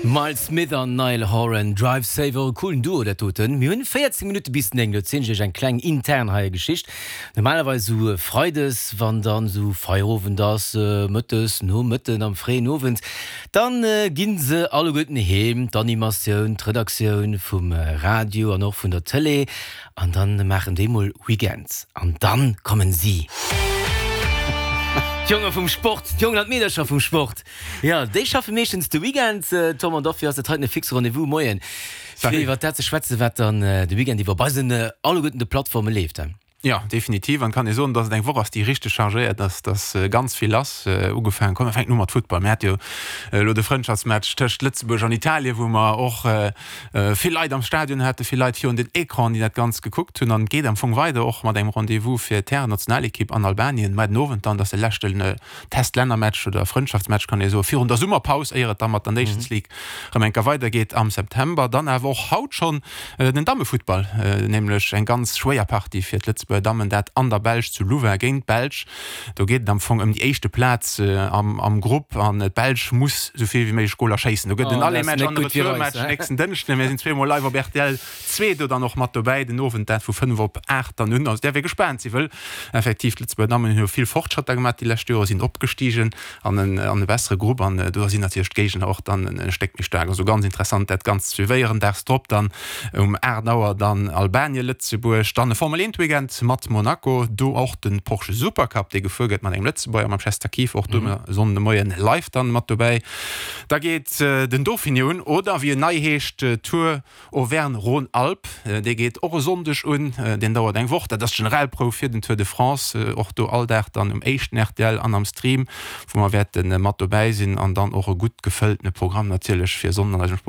Myles Smith an Niall Horan, Drive Safe, och e coolen Duo dat doten. Mir hunn 14 Minutte bis 9, do erzielen ech iech eng kleng intern hei Geschicht. Normalerweis esou Freides, wann dann esou Feierowend ass, mëttes, Nomëtten, am fréien Owend, dann ginn se alleguerten heem, d'Animatioun, d'Redaktioun vum Radio an och vun der Tëlee, an dann maachen déi mol Weekend. An dann kommen si! D'Jonge vum Sport, d'Jongen an d'Meedercher vum Sport. Jo, déi schaffe meeschtens de Weekend, Tom, an dofir ass dat heiten e fixe Rendez-vous. Moien, fir iwwer dat ze schwätzen, wat dann de Weekend iwwer op eisen alleguerten de Plattforme leeft. Jo, definitiv. An et kann ee soen, dass et eng Woch ass, déi richteg chargéiert ass, dass ganz vill lass. Ugefaangen, komm, mir fänken u mat Futtball. Mir hate jo elo de Frëndschaftsmatch tëscht Lëtzebuerg an Italien, wou mer och vill Leit am Stadion haten, vill Leit virun den Ecranen, déi dat Ganzt gekuckt hunn. An et geet am Fong weider och mat engem Rendez-vous fir d'Härennationalekipp an Albanien muer den Owend dann. Dat ass de leschten Test-Lännermatch oder Frëndschaftsmatch kann ee soen, virun der Summerpaus, éier et da mat der Nations League erëm eng Kéier weidergeet am September. Dann awer och haut schonn den Dammefuttball, nämlech eng ganz schwéier Partie fir d'Lëtzebuerger Dammen, dat an der Belsch zu Louvain géint d'Belsch. Do geet et am Fong ëm déi éischte Plaz am Grupp an d'Belsch muss esou vill wéi méiglech Goler schéissen. Do gëtt en Aller-Match an e Retour-Match nächsten Dënschden. Mir sinn zweemol live op rtl 2 do dann och mat dobäi den Owend, dat vu 5 op 8 dann un. Also däerf ee gespaant sinn, wëll effektiv d'Lëtzebuerger Dammen hunn jo vill Fortschrëtter gemaach déi lescht Jore, sinn opgestigen an en an e bessere Grupp an do sinn natierlech d'Géigner och dann e Stéck méi staark. Also ganz interessant dat Ganzt ze suivéieren. Daags drop dann um 8 Auer dann Albanien-Lëtzebuerg, dann e Formel 1 Weekend mat Monaco, do och de Porsche Supercup dee gefuer gëtt mat engem Lëtzebuerger, mam Chester Kief, och do e Sonnden de Moien live dann mat dobäi. Da geet den Dauphiné un oder wéi en nei heescht Tour Auvergne-Rhône-Alpes, dee geet och e Sonndeg un, deen dauert eng Woch. Dat ass d'Generalprouf fir den Tour de France, och do all Dag dann um éischten rtl an am Stream, wou mer wäerte mat dobäi sinn an dann och e gutt gefëlltene Programm natierlech fir e Sonnden an eisem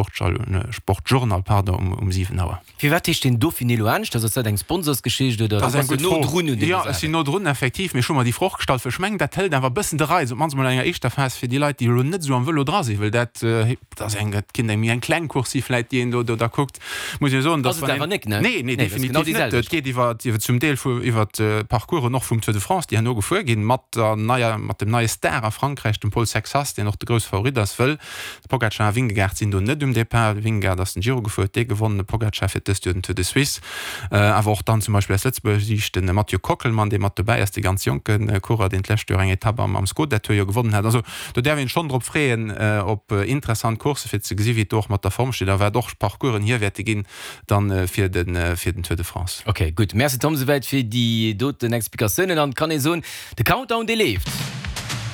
Sportjournal, pardon, um 7 Auer. Firwat heescht deen Dauphiné elo aneschters? Ass dat eng Sponsorsgeschicht oder du bass jo no drun un deene Saachen? Jo, ech sinn no drun, effektiv, mee ech hu mer déi Fro och gestallt, well ech mengen, dat hëlt awer e bëssen de Reiz, op d'mannst emol an enger éischter Phas, fir déi Leit, déi elo net esou am Vëlo dra sinn, well dat Dat ass eng, dat kinnt eng méi eng kleng Course si vläit, déi een do do da kuckt. Muss ee soen, dass Ass et awer nek, ne? Nee, nee, definitiv net. Et geet iwwer, iwwer zum Deel vu iwwer d'Parcoursen och vum Tour de France, déi herno gefuer ginn, mat der neier, mat dem neie Star a Frankräich, dem Paul Sexas, deen och de grousse Favorit ass, wëll de Pogacar a Vingegaard sinn do net um Depart. De Vingegaard ass den Giro gefuer, huet dee gewonnen, de Pogacar fiert dëst Joer den Tour de Suisse. Awer och dann zum Beispill aus Lëtzebuerger Siicht de Mathieu Kockelmann, dee mat dobäi ass, dee ganz jonke Coureur, deen d'lescht Joer eng Etapp am Skoda Tour jo gewonnen hat. Also Do däerf een schonn drop freeën op interessant Coursse fir ze gesi wéi et do och mat der Form steet a wat och Parcoursen hier wäerte ginn dann fir den fir den Tour de France. Ok gutt, Merci Tom souwäit fir déi doten Explikatiounen an et kann ee soen, de Countdown dee leeft.